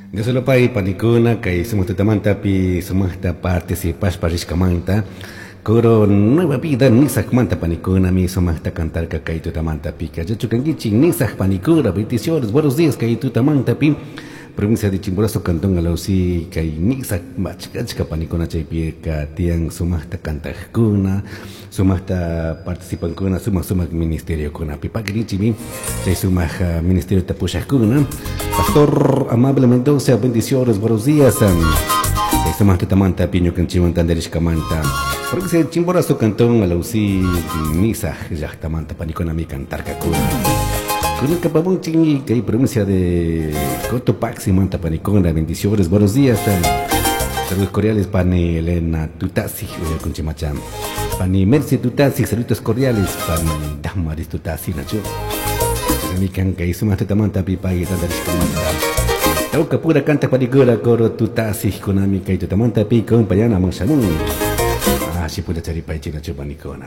Diosolopay panikuna kay sumaq tutamantapi sumaqta participashpa rishkamanta Coro Nueva Vida Nisakmanta panikunami sumaqta cantarka kay tutamantapika yachukankichik Nisak panikuna. Bendiciones, buenos días kay tutamantapi provincia de Chimborazo, cantón Alausí, kay Nisak achka panikuna chaypika tiyan sumaqta cantaqkuna, sumaqta participankuna sumaq sumaq ministeriokunapi. Pakirichimi chay sumaq ministeriota pushaqkuna. Pastor Amable Mendoza, bendiciones, buenos días. Kay sumaq tutamantapi ñukanchikwan tantarishkamanta. Provincia de Chimborazo, cantón Alausí, Nisak llaqtamanta panikunami cantarkakuna. Kunanka pamunchikmi kay provincia de Cotopaxi manta panikuna, bendiciones, buenos días. Saludos cordiales, pani Elena Tutasi, uyakunchimacham. Pani Mercy Tutasi, saludos cordiales, pani Damaris Tutasi, nachu. Chaymi kay sumaq tutamanta pipay tantarishkamanta. Tawka pura canta panikuna coro Tutasi kunami kay tutamanta pi compañana shamun. Ah, si puede charipay chinachu panikuna.